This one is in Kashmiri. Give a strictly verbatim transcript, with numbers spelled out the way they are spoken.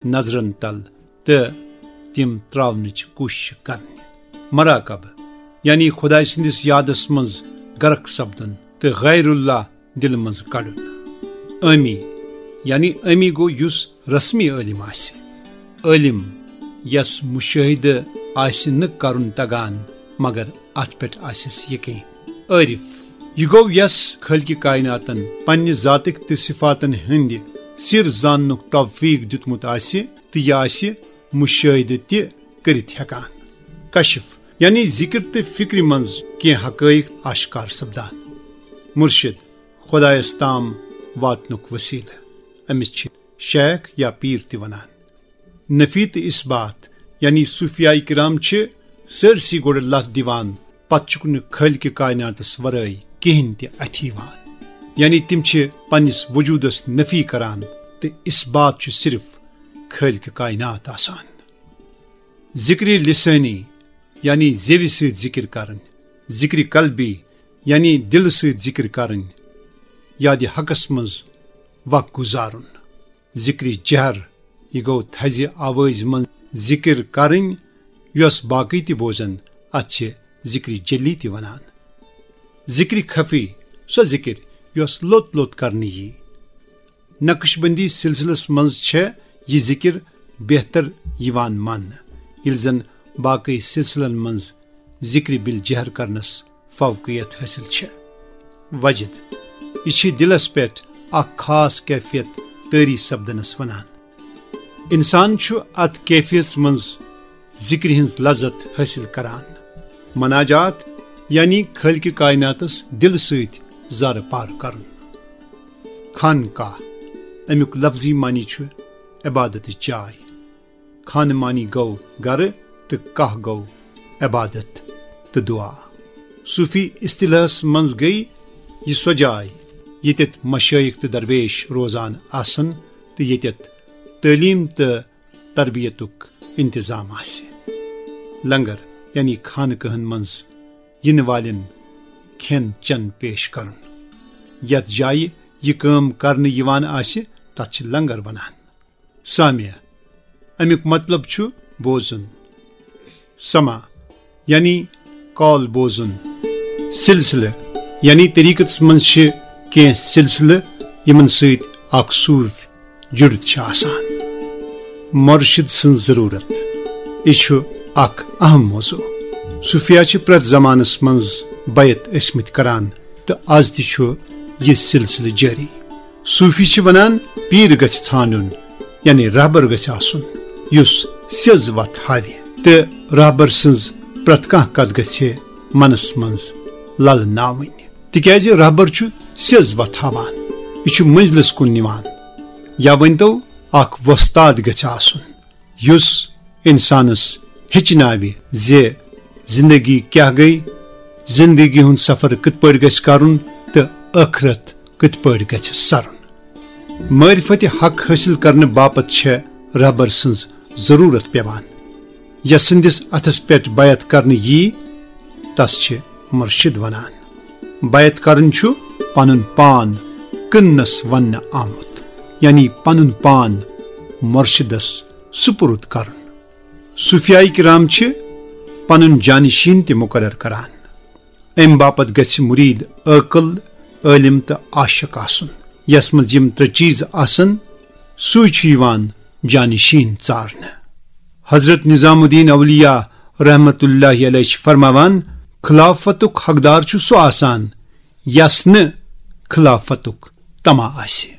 نظرن تل تہٕ تِم تراونٕچ کوٗشش کرنہِ۔ مراقبہٕ، یعنی خدایہِ سٕنٛدِس یادس منٛز غرق سپدُن تہٕ غیر اللہ دِلہٕ منٛز کڑُن۔ عٲمی، یعنی عٲمی گوٚو یُس رسمی عٲلِم آسہِ۔ عٲلِم، یس مُشٲہِدٕ آسہِ نہٕ کرُن تگان، مگر اتھ پٮ۪ٹھ آسٮ۪س یقین۔ عٲرِف، یہِ گوٚو یس خٲلقِ کائناتن پننہِ ذاتٕکۍ تہٕ صفاتن ہٕنٛدِ سِر زاننُک توفیق دیُتمُت آسہِ تہٕ یہِ آسہِ مُشٲہِدٕ تہِ کٔرِتھ ہٮ۪کان۔ کشف، یعنی ذِکر تہٕ فِکرِ منٛز کینٛہہ حقٲیق آشکار سپدان۔ مُرشِد، خۄدایس تام واتنُک وسیلہٕ۔ أمِس چھِ شیخ یا پیٖر تہِ ونان۔ نفی تہٕ اثبات، یعنی صوفیاے کرام چھِ سٲرسٕے گۄڈٕ لتھ دِوان، پتہٕ چھُکھ نہٕ خٲلقِ کائناتس ورٲے کِہیٖنۍ تہِ اَتھِ یِوان۔ یعنی تِم چھِ پننِس وجوٗدس نفی کران تہٕ اثبات چھُ صرف خٲلقِ کائنات آسان۔ ذِکرِ لسٲنی، یعنی زیوِ سۭتۍ ذِکر کرٕنۍ۔ ذِکرِ قلبی، یعنی دِلہٕ سۭتۍ ذِکر کرٕنۍ۔ یادِ حقس منٛز وق گُزارُن۔ ذِکرِ جہر، یہِ گوٚو تھزِ آوازِ منٛز ذِکر کرٕنۍ، یۄس باقٕے تہِ بوزن، اتھ چھِ ذِکرِ جلی تہِ ونان۔ ذِکرِ خفی، سۄ ذِکر یۄس لوٚت لوٚت کرنہٕ یی۔ نقشبندی سلسلس منٛز چھےٚ یہِ ذِکر بہتر یِوان ماننہٕ، ییٚلہِ زن باقٕے سلسلن منٛز ذِکرِ بالجہر کرنس فوقیت حٲصِل چھےٚ۔ وجد، یہِ چھِ دِلس پٮ۪ٹھ اکھ خاص کیفیت طٲری سپدنس ونان۔ انسان چھُ اتھ کیفیتس منٛز ذِکرِ ہٕنٛز لذت حٲصِل کران۔ مناجات، یعنی خٲلقِ کائناتس دِلہٕ سۭتۍ زارٕ پار کرُن۔ خانقاہ، امیُک لفظی معنی چھُ عبادتٕچ جاے۔ خانہٕ معنی گوٚو گرٕ تہٕ کاہ گوٚو عبادت تہٕ دعا۔ صوفی اصطلاحس منٛز گٔے یہِ سۄ جاے ییٚتٮ۪تھ مشٲیخ تہٕ درویش روزان آسن تہٕ ییٚتٮ۪تھ تعلیٖم تہٕ تربیتُک انتظام آسہِ۔ لنگر، یعنی خانقاہن منٛز یِنہٕ والٮ۪ن کھٮ۪ن چٮ۪ن پیش کرُن۔ یتھ جایہِ یہِ کٲم کرنہٕ یِوان آسہِ، تتھ چھِ لنگر ونان۔ سامع، امیُک مطلب چھُ بوزُن۔ سماع، یعنی کال بوزُن۔ سلسلہٕ، یعنی طریقتس منٛز چھِ کینٛہہ سلسلہٕ یِمن سۭتۍ اکھ صوٗفۍ جُڑِتھ چھِ آسان۔ مرشد سٕنٛز ضروٗرت، یہِ چھُ اکھ اہم موضوع۔ صوفیا چھِ پرٛٮ۪تھ زمانس منٛز بیعت ٲسمٕتۍ کران تہٕ از تہِ چھُ یہِ سلسلہٕ جٲری۔ صوفی چھِ ونان، پیٖر گژھِ ژھانڈُن، یعنی رہبر گژھِ آسُن، یُس سیٚز وتھ ہاوِ، تہٕ رہبر سٕنٛز پرٛٮ۪تھ کانٛہہ کتھ گژھِ منس منٛز للناوٕنۍ، تِکیازِ رہبر چھُ سیٚز وتھ ہاوان، یہِ چھُ منزلس کُن نِوان۔ یا ؤنۍتو، اکھ وۄستاد گژھِ آسُن، یُس انسانس ہیٚچھناوِ زِ زندگی کیٛاہ گٔے، زندگی ہُنٛد سفر کِتھ پٲٹھۍ گژھِ کرُن تہٕ ٲخرت کِتھ پٲٹھۍ گژھِ سرُن۔ معرفت حق حٲصِل کرنہٕ باپتھ چھےٚ رہبر سٕنٛز ضروٗرت پٮ۪وان۔ یس سٕنٛدِس اتھس پٮ۪ٹھ بیعت کرنہٕ یی، تس چھِ مرشد ونان۔ بیعت کرُن چھُ پنُن پان کٕننس وننہٕ آمُت، یعنی پنُن پان مرشدس سپرد کرُن۔ صوفیاے کرام چھِ پنُن جانشین تہِ مقرر کران۔ امہِ باپتھ گژھِ مرید عٲقل، عٲلم تہٕ عاشق آسُن۔ یس منٛز یِم ترٛےٚ چیز آسن، سُے چھُ یِوان جانشین ژارنہٕ۔ حضرت نظام الدین اولیاء رحمت اللہ علیہ چھِ فرماوان، خلافتُک حقدار چھُ سُہ آسان، یس نہٕ خلافتُک طمع آسہِ۔